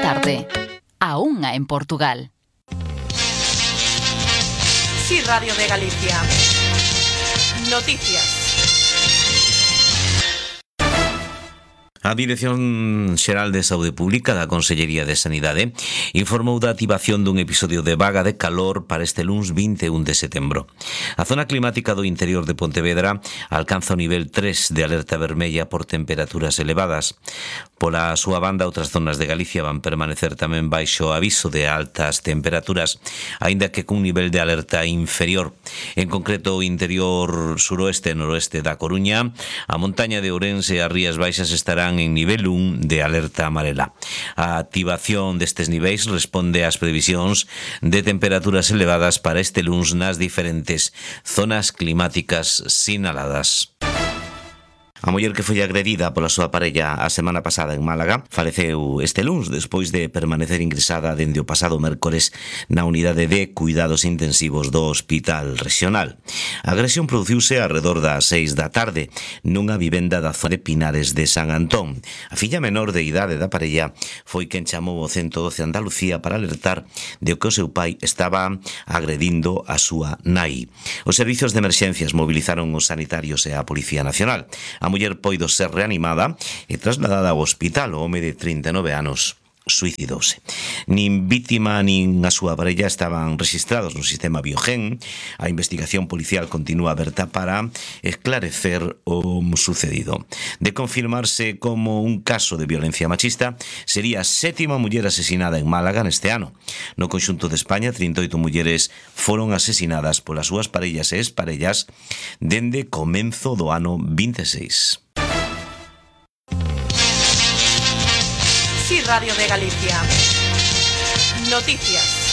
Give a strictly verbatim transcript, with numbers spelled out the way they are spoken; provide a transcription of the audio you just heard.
tarde. A unha en Portugal. Sí, Radio de Galicia. Noticias. A Dirección Xeral de Saúde Pública da Consellería de Sanidade informou da activación dun episodio de vaga de calor para este luns vinte e un de setembro. A zona climática do interior de Pontevedra alcanza o nivel tres de alerta vermella por temperaturas elevadas. Pola súa banda, outras zonas de Galicia van permanecer tamén baixo aviso de altas temperaturas, aínda que cun nivel de alerta inferior. En concreto, o interior suroeste e noroeste da Coruña, a montaña de Ourense e as Rías Baixas estarán en nivel un de alerta amarela. A activación destes niveis responde ás previsións de temperaturas elevadas para este luns nas diferentes zonas climáticas sinaladas. A muller que foi agredida pola súa parella a semana pasada en Málaga faleceu este luns despois de permanecer ingresada dende o pasado mércores na unidade de cuidados intensivos do Hospital Regional. A agresión produciuse arredor das seis da tarde nunha vivenda da zona de Pinares de San Antón. A filla menor de idade da parella foi quen chamou o ciento doce Andalucía para alertar de que o seu pai estaba agredindo a súa nai. Os servizos de emerxencias movilizaron os sanitarios e a Policía Nacional. A muller poido ser reanimada e trasladada ao hospital. O home de trinta e nove anos suicidouse. Nin vítima nin a súa parella estaban rexistrados no sistema Biogen. A investigación policial continúa aberta para esclarecer o sucedido. De confirmarse como un caso de violencia machista, sería a sétima muller asesinada en Málaga neste ano. No conxunto de España, trinta e oito mulleres foron asesinadas polas súas parellas e exparellas dende comenzo do ano vinte e seis. Sí, Radio de Galicia. Noticias.